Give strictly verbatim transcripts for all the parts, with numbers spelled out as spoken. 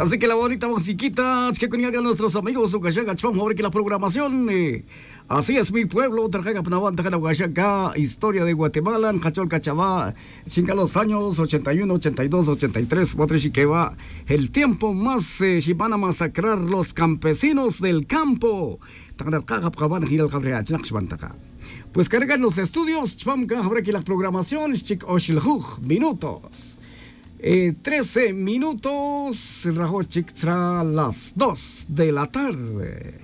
Así que la bonita musiquita chque con nuestros amigos ucashaca chpam ahora que la programación. Así es mi pueblo, tarjaca pnawan tarjana ucashaca historia de Guatemala nkachol cachava. Chinga los años ochenta y uno, ochenta y dos, ochenta y tres, cuatro y que va el tiempo más, eh, si van a masacrar los campesinos del campo. Tanarkaja pkavan jilal jabreja chnak xbantaka. Pues carga los estudios chpam cajabra que la programación chik oxiljuj minutos. Eh, trece minutos rajo chik tzra las dos de la tarde.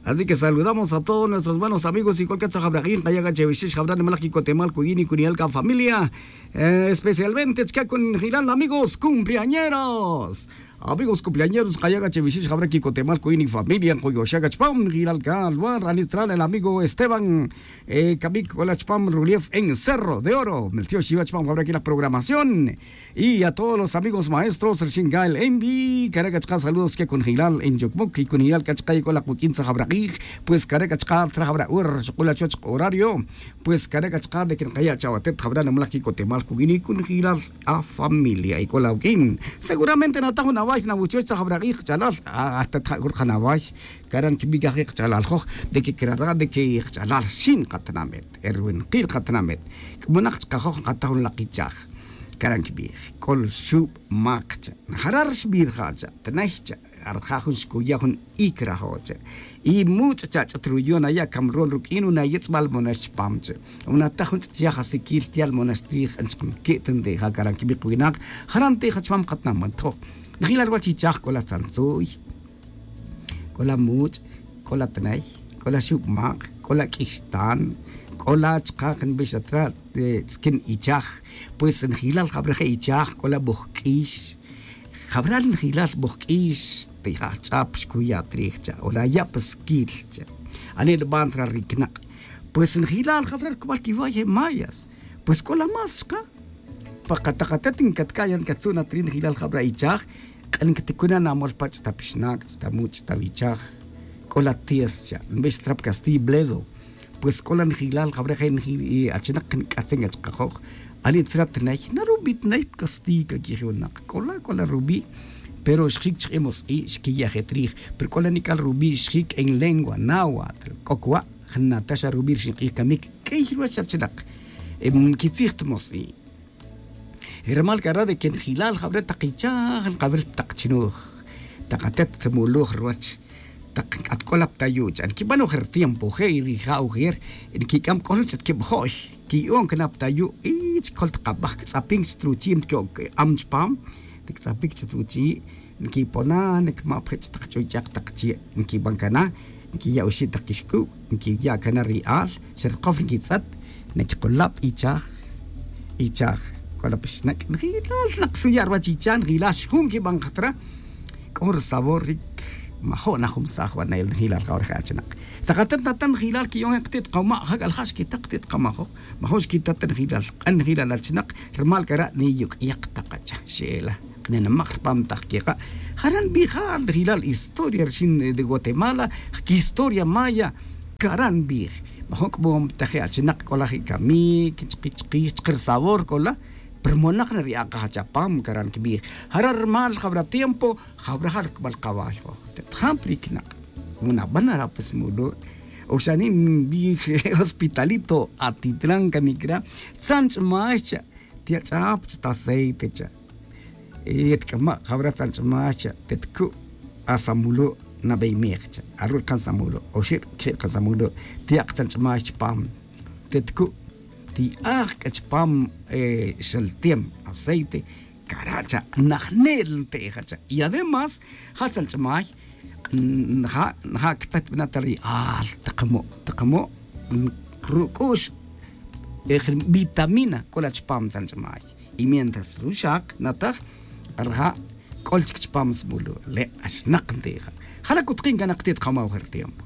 Así que saludamos a todos nuestros buenos amigos y cualquier tzajabraqin qayaga chevixix jabra nimalaj kicotemal kuyini kuniyal ka familia. Eh, especialmente chka kun jilal amigos cumpleañeros. Amigos cumpleañeros qayaga chevixix jabra kicotemal kuyini familia nquyuxaga chpam jilal ka lugar anitral el amigo Esteban, eh, kamik kola chpam rulief en Cerro de Oro meltiox yiwa chpam jabra kilaj programación. Y a todos los amigos maestros rixin gael envi carega chka saludos ke kunjilal en yukmuk y kunjilal ka chka yek'ola kuk'in tzajabra q'ij. Pues carega chka tzajabra hora xuq'ula chuwach horario. Pues carega chka de que nqaya' chawatet jabra namlaj kikotemal kuwini kunjilal a familia yek'ola wuk'in. Seguramente nataj jun away nawuchuwach tzajabra q'ij qch'alal. Hasta tja' jun qanaway. Caran kibik aje qch'alal joj de que crara de que qch'alal xin qatnamet erwinqil qatnamet. K'monak chka joj nqataj jun laq ichaj. Caran kibij k'ol xub' mak cha. Jarar xbirja' cha tnay cha. Arja' jun xkuya' jun ic rajo' cha. Y much' cha ch'at ruyon aya' camron ruq'uin una yitz'bal monax chpam cha. Una taj jun ch'at yaj asikil tial monax trij anchik mki't nteja caran kibik winak. Jaran teja chpam katnaman tjoj. Njilal wach ichaj k'ola tzantzuy, k'ola much', k'ola tnay, k'ola xub' mak, k'ola k'ixtan, k'ola chka' nbix atra tzkin ichaj. Pues njilal jabra je' ichaj k'ola bojk'ix. Jabra njilal bojk'ix tija' jch'ap xkuya' trij cha' ora ya' pa skil cha'. Ani' nb'an tra riknaq'. Pues njilal jabra rkb'al kiway je' mayas. Pues k'ola más chka'. Pa kataqatet nkatka'yan katzu'na trin jilal jabra ichaj. Q'an ktikuna namol pach' ta pixnak' ta much' ta wichaj. K'ola tias cha' nbix trap kastiy bledo. Pues k'ola njilal jabra je' nji' achinak nk'atzen achkajoj. Ani' tzra tnay narub'i' tnay pkastiy kakijiwnak k'ola k'ola rub'i'. Pero xjik chk'imos i' xkiya' je' trij. Pero k'ola nik'al rub'i' xjik en lengua nahuatl k'o k'wa'. Jnata xa rub'i' rixin q'ij kamik k'ey ruwach achinak. Nkitzij tmos i'. Rmal kara de que njilal jab're taq ichaj nqawil taq chnuj. Taq atet tmuluj ruwach. Taq nk'at k'ola ptayu' cha' nkib'an ojer tiempo je' rija' ojer. Nkik'am k'ol ch'at kib'jo'y. Kiyu'on kna ptayu' y chkol taqab'aj ktz'apin chit ruchi' nki'ok k'am chpam. Tiktz'apik chit ruchi' nkipona' nkimap je' chit taq ch'uych'aq taq chi' nkib'an kana. Nkiya' oxi' taq kixk'ub' nkiya' kana ri al xa rikow nkitz'at. Nikiqulab' ichaj. Ichaj k'ola pixnak' njilal naq suya' ruwach ichaj njilal xjun kib'an qatra. K'o ri sabor rik majo' najumsaj wanel njilal jawar je' achinaq. Taq atat natan njilal ki'on je' qati't qama' jak'al ja' xkitaq qati't qamajoj. Majo' xkita ta njilal q'an njilal achinaq. Rmal kara' niyuk'yaq taq acha xe'ela. Qnenamaj rpam taq keqa'. Jaran bijal rijilal historia rixin de guatemala. Jkihistoria maya. Karan bij. Majo' k'mom taje' achinaq k'olaj ikamik chki chkij chki rsabor k'ola. Prmonak na ri aq'aj chapam karan kibij. Jaran rmal jawra tiempo. Jawra jal kbal kaway joj tetjam pri knak'. Munaban nara' pues mulu'. Oxani' nbij hospitalito atitlan kamik ra'. Tzan ch'may cha'. Tiya' ch'ap chit aceite cha'. Yet k'ama' jawra tzan ch'may cha' tet ku'. Asamulu' nabey mej cha'. Aru' rkan samulu' oxi' rkje' rkan samulu'. Tiya' ktzan ch'may chpam. Tet ku' ti'aj k'a chpam. Xaltem aceite. Kara' cha' najnel nte'ja cha'. Y además ja' tzan ch'may. Nja' nja' kpetb'ana' ta ri al taqamo' taqamo' ruk'ux. Vitamina k'ola chpam tzan ch'may. Y mientras ruxaq nataj rja' k'ol chik chpam smulu' le' axnaq nte'ja. Jala' kutqin kanaq ti't qamaw jer tiempo.